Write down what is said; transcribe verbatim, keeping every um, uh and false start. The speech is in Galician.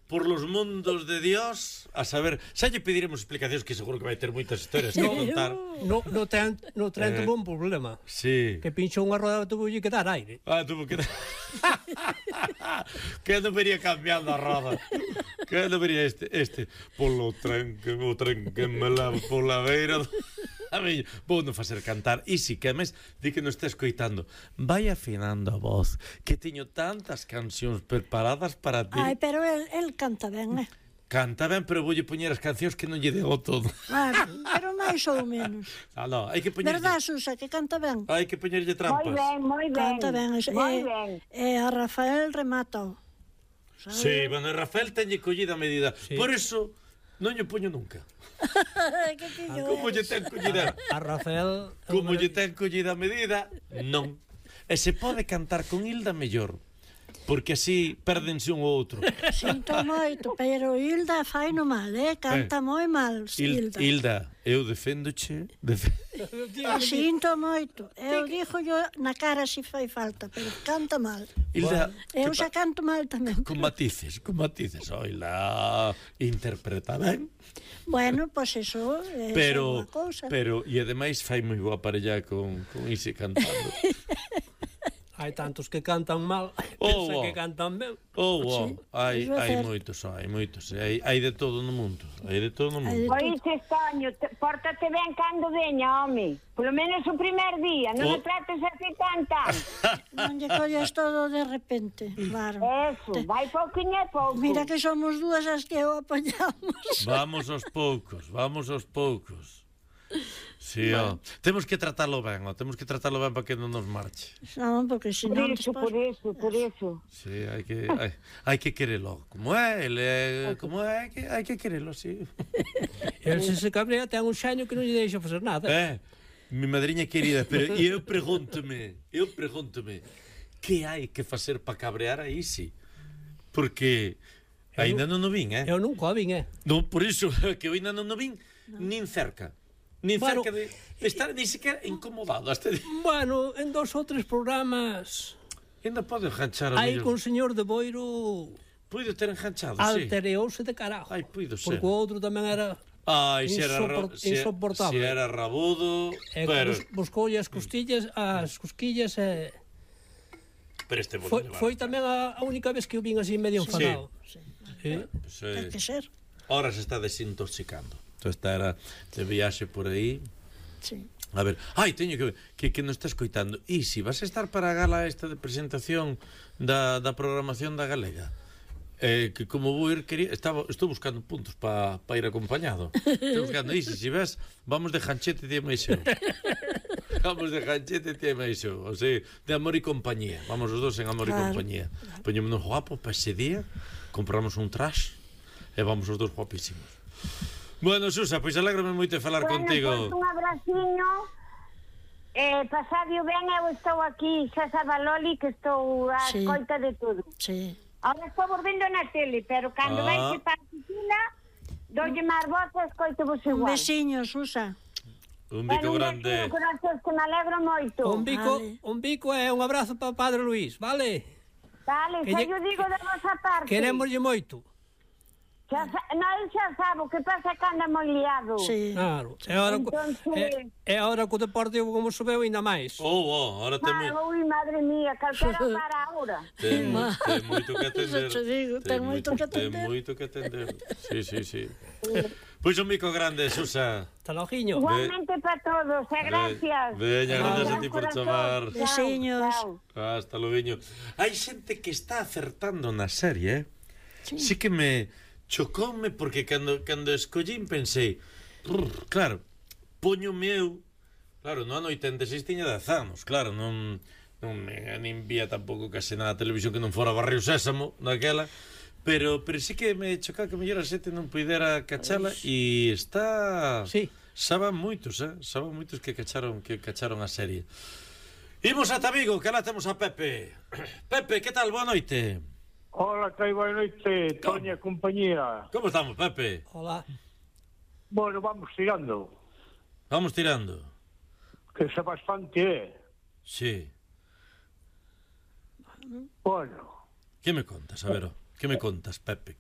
por los mundos de Dios, a saber, xa lle pediremos explicacións, que seguro que vai ter moitas historias que contar. No, no tren, no tren Eh, tuvo un problema. Sí. Que pinchou unha roda, tuvo que dar aire. Ah, tuvo que... que non vería cambiando a roda. Que non vería este, este. Polo tren, que o tren que me leva pola beira... A mí, vou non facer cantar. E si que mes, di que non está escoitando. Vai afinando a voz, que teño tantas cancións preparadas para ti. Ai, pero el, el canta ben, eh? Canta ben, pero voulle poñer as cancións que non lle dego todo. Claro, pero máis ou menos. Ah, no, hai que poñerlle... Verdad, Susa, que canta ben? Hai que poñerlle trampas. Moi ben, moi ben. Canta ben. E, Moi ben. e a Rafael remata. Sí, bueno, Rafael teñe collida a medida. Sí. Por eso non lle poño nunca. Que pillo Como lle es? ten collida? A Rafael... Como lle ten collida a medida? Non. E se pode cantar con Hilda mellor, porque así pérdense un ou outro. Sinto moito, pero Hilda fai no mal, eh? Canta Eh. moi mal, Hil- Hilda. Hilda, eu deféndoche. Def... Sinto moito. Eu dixo yo na cara se fai falta, pero canta mal. Hilda, Eu que xa pa- canto mal tamén. con matices, con matices. Oila, interpreta ben. Bueno, pois pues eso é Pero, unha cousa. pero, e ademais fai moi boa parella con, con ese cantando. Hai tantos que cantan mal, Oh, pensa oh. que cantan ben. Oh, wow. hai, iso é hai certo. moitos, hai moitos. Hai, hai de todo no mundo. Hai de todo no Hai de mundo. Oíste, Toño, te, pórtate ben cando veña, home. Polo menos o primer día, non Oh. me trates así tan tan. Non lle colles todo de repente, claro. Eso, vai pouquinho e pouco. Mira que somos dúas as que o apoñamos. Vamos aos poucos, vamos aos poucos. Sí, ó. Temos que tratarlo ben, ó. Temos que tratarlo ben para que non nos marche. Non, porque Por senón iso, despois... por iso, por iso. Sí, hai que hai, hai que querelo. Como é, ele é, como é, hai que hai que querelo, sí. El se se cabrea ten un xaño que non lle deixa facer nada. Eh, mi madriña querida, pero eu pregúntome, eu pregúntome, que hai que facer para cabrear a Isi? Porque aínda non o vin, eh? Eu nunca o vin, eh? Non, por iso que eu aínda non o vin, nin cerca. Nin Bueno, cerca de, de estar ni sequera incomodado. Hasta de... Bueno, en dos ou tres programas Ainda pode enganchar a hai mellor. con señor de Boiro Puido ter enganchado, sí. altereouse de carajo. Ai, puido ser. Porque o outro tamén era Ai, se era, ra- insopor- se, insoportable. se era rabudo, e pero, bus, buscoulle as costillas, as cosquillas e pero este foi, foi tamén a, a única vez que eu vin así medio enfadado. Sí. Sí. Pues, eh, Ten que ser. ahora se está desintoxicando. Entonces esta era de viaxe por aí. Sí. A ver, ai, teño que que que non está escoitando. E si vas a estar para a gala esta de presentación da, da programación da Galega? Eh, que como vou ir quería, estaba, estou buscando puntos para pa ir acompañado. Estou buscando, e si, si ves, vamos de Janchete e máis eu. Vamos de Janchete e máis eu. O sea, de Amor e Compañía. Vamos os dos en Amor Claro. e Compañía. Poñémonos guapos para ese día, compramos un trash e vamos os dos guapísimos. Bueno, Susa, pois alégrame moito de falar Bueno, contigo. pois un abraciño. Eh, pasadio ben, eu estou aquí, xa sabe Loli, que estou a Sí. escoita de todo. Sí. Ahora estou volvendo na tele, pero cando Ah. vai que para a piscina, doulle máis voz e escoito vos Un igual. besiño, Susa. Un bico Bueno, un grande. besiño, corazones, que me alegro moito. Un bico, Vale. un bico e un abrazo para o Padre Luís, vale? Vale, Que xa lle- yo digo de vosa parte. Querémoslle moito. Xa sa... Non, xa sabo, que pasa que anda moi liado. Sí. Claro. E ahora, co- Entonces- e, e ahora co Deportivo como subeu ainda máis. Oh, oh, ahora ten, moi, Ah, ui, madre mía, calquera para ahora. ten, mo- ten moito que atender. Eso te digo, ten moito que Ten atender. moito que atender. Sí, sí, sí. Pois un bico grande, Susa. Hasta logiño. Igualmente para todos, e gracias. Veña, gracias a ti por Corazón. chamar. Chao, Besiños. chao. Hasta logo. Hai xente que está acertando na serie, eh? Sí. Sí que me chocoume porque cando cando escollín pensei, "Brr, claro, poñome eu, claro, no ano oitenta e seis tiña dez anos, claro, non non me nin vía tampouco case nada a televisión que non fora Barrio Sésamo naquela, pero pero sí que me chocaba que mellor a xente non puidera cachala e está Sí. saban moitos, eh? Saban moitos que cacharon que cacharon a serie. Imos ata Vigo, que lá temos a Pepe. Pepe, que tal? Boa noite. Hola, que hai boa noite, Toña e compañía. Como estamos, Pepe? Hola. Bueno, vamos tirando, Vamos tirando. que xa bastante é. Sí. Bueno, Que me contas, a ver, ó? Que me contas, Pepe?